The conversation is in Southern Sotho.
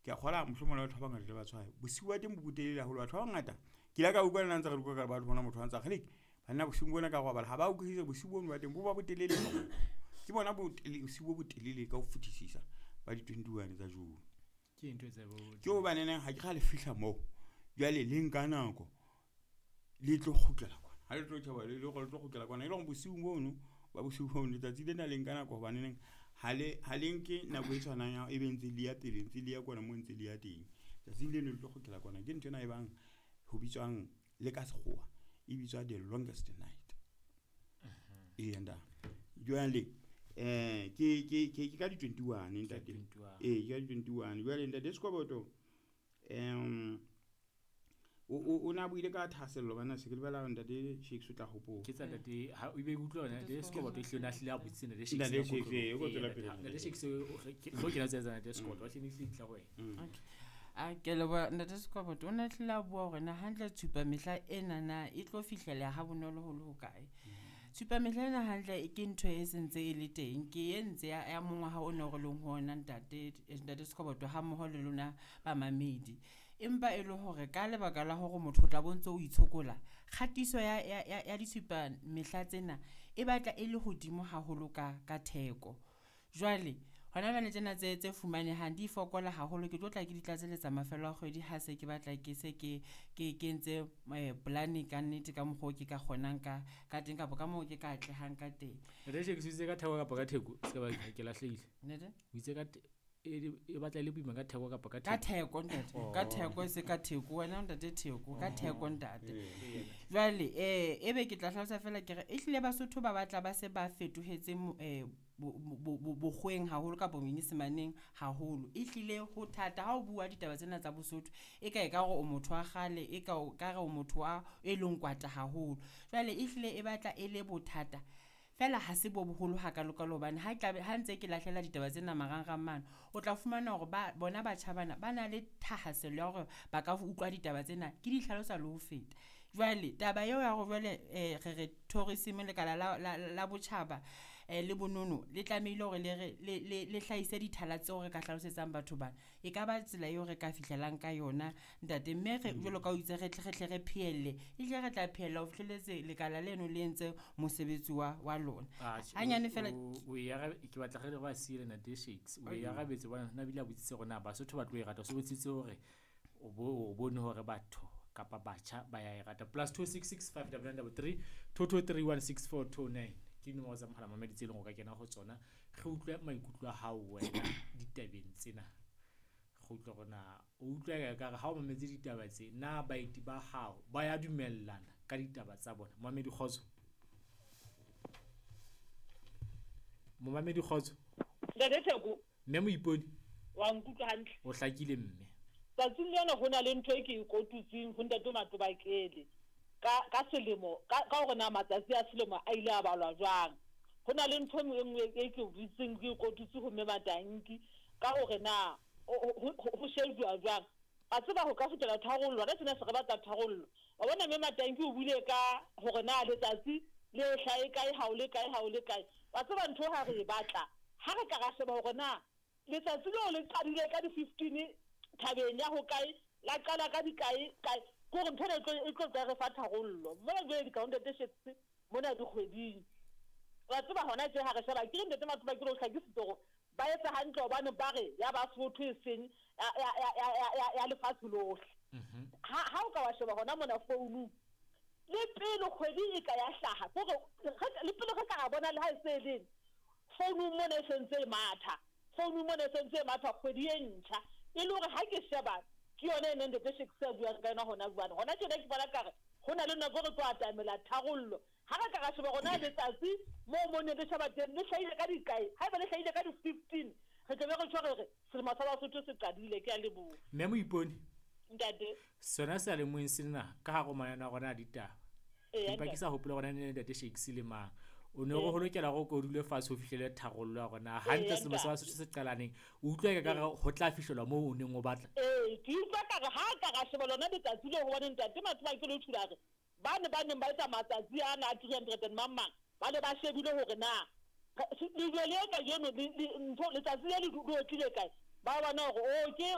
Ke a kgola mohlomong le batho ba bangata le ba tshwaye. Bosiu ba teng bo botelele haholo. Batho ba bangata ke ile ka utlwa le nna ntse re utlwa ka batho bona motho a ntsa kgeleke banna bosiung bona ka robala ha ba utlwisise bosiu bono ba teng bo ba botelele. Ke bona bosiu bo botelele ka ho fetisisa ba di 21 tsa June. Ke ntho e tsa bo Ke hobaneneng ha ke ra le fihla moo jwale le nka nako le tlo kgutlela kwana. Ha le tlo tjhaba le le tlo kgutlela kwana e le hore bosiung bono ba bosiu bono letsatsi lena le nka nako hobaneneng ha le ha le nke nako e tshwanang ya e be ntse le ya pele ntse le ya kwana mo ntse le ya teng. Tsatsing leno le tlo kgutlela kwana. Ke ntho ena e bang ho bitswang le ka sekgowa e bitswa the longest night. Ee ntate. Jwale ke ka di 21 ntate. 21. Ee, ke ka di 21. Jwale ntate Sekoboto o na buile ka thahasello bana se ke lebala ntate Shakes o tla hopola. Ke tsa ntate ha o be utlwa hore ntate Sekoboto ehlile o ne a hlile a botsitse ntate Shakes. Ntate nako Shakes, tlo. ee, o Ee, tswela pele. Ntate Shakes o kena tsa ntate Sekoboto, wa hlile hlile tla ho wena. Okay. A ke leboha ntate Sekoboto o ne hlile a bua hore na hantle tshupa mehla ena na e tlo fihlela ha bonolo ho le hokae. Tshupa mehla ena hantle e ke ntho e sentse e le teng ke e ntse ya mongwaha o no re leng ho ona ntate ntate Sekoboto ha mmoho le lona bamamedi. Empa e le hore ka lebaka la hore motho o tla bo ntso o itshokola kgatiso ya ditshupa mehla tsena e batla e le hodimo haholo ka theko. Jwale hona jwale tsena tse fumanehang di fokola haholo ke tlo tla ke di tlatseletsa mafelo a kgwedi ha se ke batla ke se ke ke kentse plan ka nnete ka mokgwa o ke ka kgonang ka teng kapa ka moo ke ka atlehang ka teng. Ntate Shakes o itse ka theko kapa ka theko? Se ka ba ke lahlehile. Ntate? O itse ka e batla e le boima ka theko kapa ka Ka theko? theko ntate, ka theko e se ka theko wena ntate theko, ka theko ntate. Ee. Jwale ebe ke tla hlalosa fela ke re ehlile Basotho ba batla ba se ba fetohetse bokgweng haholo kapa monyesemaneng haholo. Ehlile ho thata ha o bua ditaba tsena tsa Bosotho e ka e ka re o motho wa kgale e ka o ka re o motho wa e leng kwata haholo. Jwale ehlile e batla e le bothata fela ha se bo boholo hakalokalo hobane ha tlabe ha ntse ke lahlela ditaba tsena marangrang mane o tla fumana hore ba bona batjha bana ba na le thahasello ya hore ba ka utlwa ditaba tsena ke di hlalosa le ho feta. Jwale taba eo ya hore jwale re re tourism lekala la botjhaba le bonono le tlamehile hore le re le hlahise dithala tseo re ka hlalosetsang batho bana. E ka ba tsela eo re ka fihlelang ka yona ntate mme re jwalo ka o itse re tle re tle re phehelle ehlile re tla phehella ho fihlelletse lekala leno le entse mosebetsi wa lona. Atjhe, Hanyane fela o e ke batla re ba siele ntate Shakes. O e arabetse hobane na bile a botsitse hore na Basotho ba tlo e rata. O so botsitse hore o bone hore batho kapa batjha ba ya e rata. +266 5 9 3 223 16429 ke dinomoro tsa mohala mamedi tse leng hore o ka kena ho tsona. Re utlwe maikutlo a hao wena ditabeng tsena. Re utlwe hore na o utlwa e ka re ha o mametse ditaba tse na baeti ba hao ba ya dumellana ka ditaba tsa bona. Momamedi kgotso. Momamedi kgotso. Ntate Theko. Mme Moiponi. Wa nkutlwa hantle? O hlakile mme. Tsatsing lena ho na le ntho e ke e kotutseng ho ntate Matobakele ka selemo ka hore na matsatsi a selemo a ile a balwa jwang. Ho na le ntho e nngwe e ke butseng ke e kotutse ho mme Matanki ka hore na ho shejuwa jwang. Wa tseba ho ka fihlela tharollo, hona tjena se re batla tharollo. Wa bona mme Matanki o buile ka hore na letsatsi le hlahe kae, ha o le kae, ha o le kae. Wa tseba ntho ha re e batla, ha re ka ra sheba hore na letsatsi leo le qadile ka di-15 thabeng ya ho kae, la qala ka dikae kae, ke hore ntho ena e tlo tla re fa tharollo. Mona jwale di ka ntate Shakes mona dikgweding. Wa tseba hona tje ha re sheba ke re ntate Matobakele o hlakisitse hore ba etsa hantle hobane ba re ya Basotho e seng ya lefatshe lohle. Ha o ka wa sheba hona mona founung le pele kgwedi e ka ya hlaha, ke hore le pele re ka ra bona le ha e se e leng founung mona e sentse e matha. Founung mona e sentse e matha kgwedi e ntjha. E le hore ha ke sheba ke yona e neng ntate Shakes a buang ka yona hona jwale. Hona tjena ke bona kare ho na le nako re tlo atamela tharollo. Ha re ka ra sheba hore na letsatsi moo mo ne le sheba teng le hlahile ka dikae, haeba le hlahile ka di-15 re tla be re tjho re re selemo sa Basotho se qadile. Ke a leboha. Mme Moiponi. Ntate. Sona seyalemoyeng sena ka hare ho mananeo a rona a ditaba. Ee, Empa ke ntate. sa hopola hore na ne ntate Shakes le mang. O ne re ho lokela hore o ko dule fatshe ho fihlele tharollo ya hore na hantle selemo sa Ntate. Basotho se qalaneng. O utlwa e ka re ho tla fihlelwa moo o neng o batla. Ee, ke utlwa ka re ha ka ra sheba lona letsatsi leo hobane ntate Matobakele o tjhula re bane ba neng ba etsa matsatsi ana a 300 and mang mang ba ne ba shebile hore na lejwe le kajeno ntho letsatsi le le otlile kae, ba bona hore o ke